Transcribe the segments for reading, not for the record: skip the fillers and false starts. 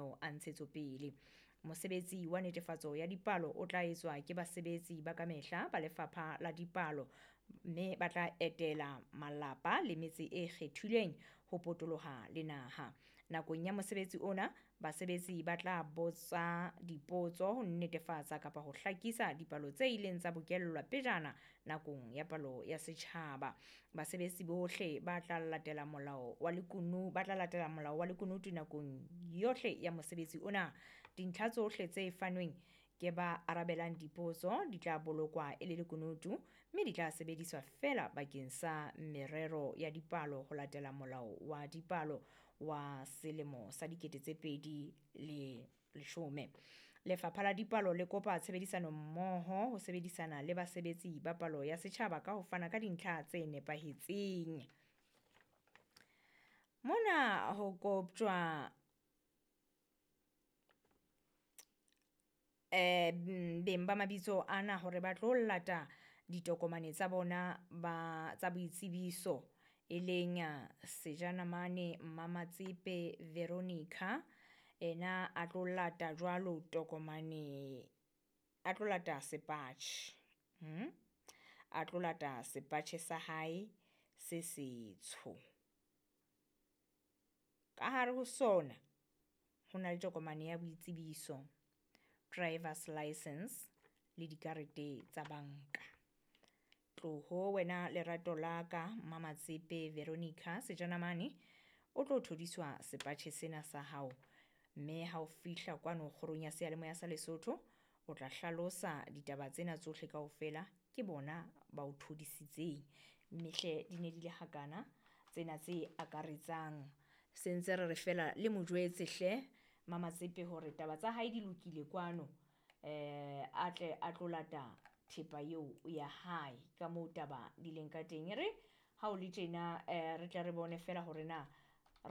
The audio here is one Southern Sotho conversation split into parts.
mananeo a ntshetsopele. Mosebetsi wa netefatso ya dipalo o tla etswa ke basebetsi ba kamehla ba Lefapha la Dipalo mme ba tla etela malapa le metse e kgethilweng ho potoloha le naha. Nakong ya mosebetsi ona, basebetsi ba tla botsa dipotso ho netefatsa kapa ho hlakisa dipalo tse ileng tsa bokellwa pejana nakong ya palo ya setjhaba. Basebetsi bohle ba tla latela molao wa lekunu ba tla latela molao wa lekunutu nakong yohle ya mosebetsi ona. Dintlha tsohle tse fanweng ke ba arabelang dipotso di tla bolokwa e le lekunutu mme di tla sebediswa feela bakeng sa merero ya dipalo ho latela molao wa dipalo wa selemo sa 2010. Lefapha la Dipalo le kopa tshebedisano mmoho ho sebedisana le basebetsi ba palo ya setjhaba ka ho fana ka dintlha tse nepahetseng. Mona ho koptjwa beng ba mabitso ana hore ba tlo lata ditokomane tsa bona ba tsa boitsebiso e leng Sejanamane Mmamatsepe Veronica ena a tlo lata jwalo tokomane a tlo lata sepatjhe a tlo lata sepatjhe sa hae se setsho. Ka hare ho sona ho na le tokomane ya boitsebiso, driver's license le dikarete tsa banka. Tloho wena lerato la ka Mmamatsepe Veronica Sejanamane o tlo thodiswa sepatjhe sena sa hao mme ha o fihla kwano kgorong ya seyalemoya sa Lesotho o tla hlalosa ditaba tsena tsohle kaofela ke bona ba o thodisitseng. Mme hle di ne di le hakana tsena tse akaretsang se ntse re re fela le mo jwetse hle Mmamatsepe hore taba tsa hae di lokile kwano a tle a tlo lata thepa eo ya hae ka moo taba di leng ka teng. E re ha o le tjena re tle re bone fela hore na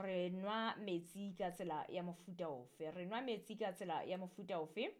re nwa metsi ka tsela ya mofuta ofe, re nwa metsi ka tsela ya mofuta ofe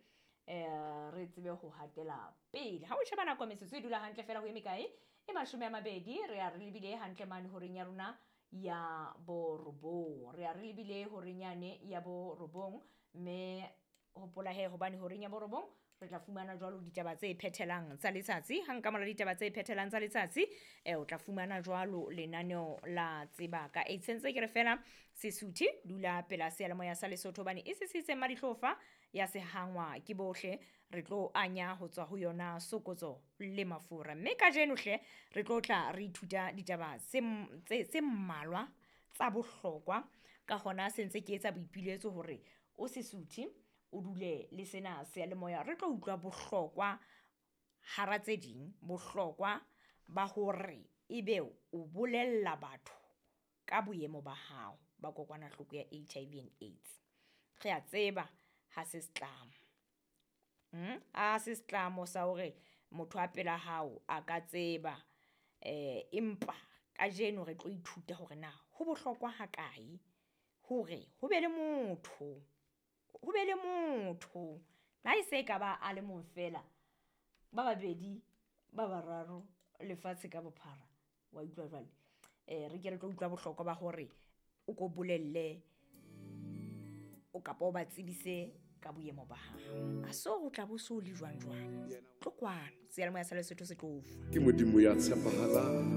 re tsebe ho hatela pele. Ha o sheba nako metsotso e dula hantle fela ho eme kae e 20 re a re lebile hantle mane horeng ya rona ya borobong. Re a re lebile horeng yane ya borobong mme hopola he hobane horeng ya borobong re tla fumana jwalo ditaba tse phethelang tsa letsatsi. Ha nka mora ditaba tse phethelang tsa letsatsi o tla fumana jwalo lenaneo la tseba ka AIDS. Sentse ke re fela Sesuthe dula pela seyalemoya sa Lesotho hobane e sisitse Madihlofa ya sehangwa ke bohle re tlo anya ho tswa ho yona sokotso le mafura. Mme kajeno hle re tlo tla re ithuta ditaba tse mmalwa tsa bohlokwa. Ka hona sentse ke etsa boipiletso hore o Sesuthe o dule le sena seyalemoya re tlo utlwa bohlokwa hara tse ding bohlokwa ba hore ebe o bolella batho ka boemo ba hao ba kokwanahloko ya HIV and AIDS. Re a tseba ha se setlamo. Ha se setlamo sa hore motho a pela hao a ka tseba empa kajeno re tlo ithuta hore na ho bohlokwa ha kae hore ho be le motho ho be le motho la e se ka ba a le mong fela ba babedi ba bararo lefatshe ka bophara wa utlwa jwale re ke re tlo utlwa bohlokwa ba hore o ko bolelle o kapa o ba tsebise ka boemo ba hao. A so o tla bo so le jwang jwang tlo kwano seyalemoya sa Lesotho se tlo fa Ke Modimo ya tshepahalang.